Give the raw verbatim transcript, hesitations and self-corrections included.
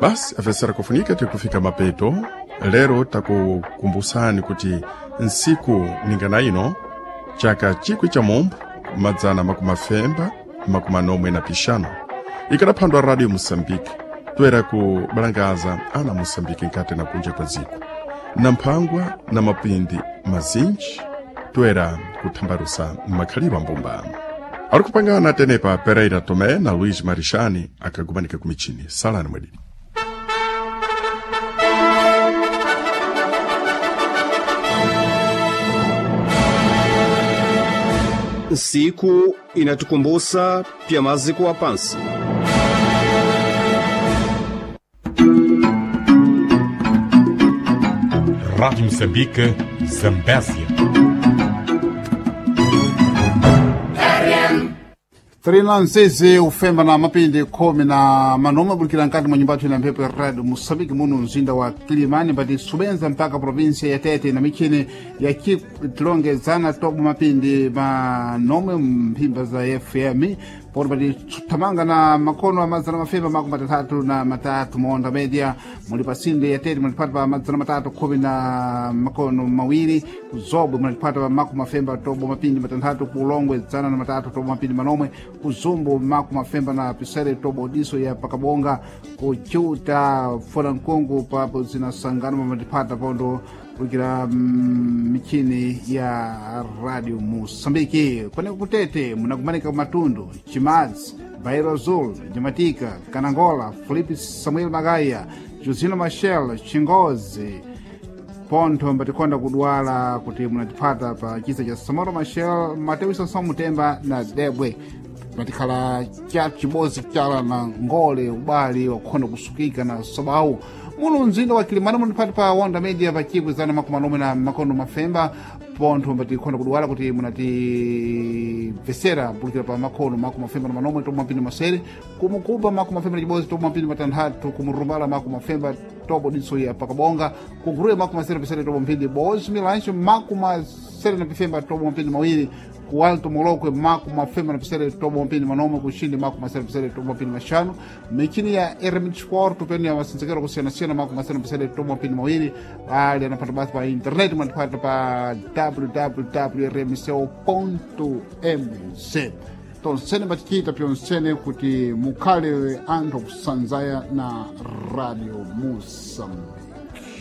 Basi afesera kufunika tikufika mapeto lero takukumbusani kuti nsiku ningana ino chaka chikwi cha mombo madzana makumi afemba makumi anomwe na pixanu ikanaphandwa radio moçambique toera kubalangaza ana moçambique nkati na kunja kwa dziko na mphangwa na mapindi mazinji toera kuthambalusa makhalidwe ambumbano ari kupangana tenepa Pereira Tomé na Luiz Marixani akagumanika kumichini salani mwedini. Siku inatukumbusa pya maziko wa pansi. Rádio Moçambique, Zambésia. Trinanzizi ufemba na mapindi khumi na manoma bulikira nkati mwa nyumba na mphepo ya radio Moçambique muno mzinda wa Kilimani mbati subenza mpaka provinsia ya Tete na michini ya tilongezana tobo mapindi manomwe mphimba za F M poti pati thamanga na makono amadzana mafemba makumi matatatu na matatu monda media muli pasinde ya Tete mulipata pa madzana matatu khumi na makono mawiri kuzobwe mulipata pa makumi mafemba tobo mapindi matanthatu kulongwe dzana na matatu tobo mapindi manomwe kuzumbu makumi mafemba na pisere tobo diso ya pakabonga kuchuta folankungu papo zinasangana pamatipata pondo kulikira mm, michini ya radio Moçambique kweneko kutete munakumanika matundu Chimadzi Bairo Azul Jamatika Kanangola Felipe Samuel Magaya Josino Machel Chingozi pontho mbatikonda kudwala kuti munatipata pa chisa cha Samora Machel Mateus Sansão Mutemba na Debwe patikhala cha chibodzi chala na ngole ubali wakukhonda kusukika na sobawu muno mzinda wa Kilimani munipati pa Wanda Media pa chibwe zana makumi anomwe na makono mafemba pontho mbatikhonda kudwala kuti munatimvesera mpulikira pa makono makumi mafemba na manomwe tobo mapindi masere kumukuba makumi mafemba na chibodzi tobo mapindi matanthatu kumurumbala makumi mafemba tobo diso ya pakabonga kuguruwe makumi masere pesere tobo mphindi bozi milancho makumi masere na pifemba tobo mapindi mawiri ku Alto Molokwe makumi mafemba na pisere tobo mapindi manomwe kuxindi makumi masere pisere tobo mapindi maxanu michini ya R M Sport penu ya masinzekero kusiyanasiyana makumi masere na pisere tobo mapindi mawiri ali anapata basi pa internet manipata pa w w w r m c o m z tonsene batichita pyonsene kuti mukhale anthu akusanzaya na radio Moçambique.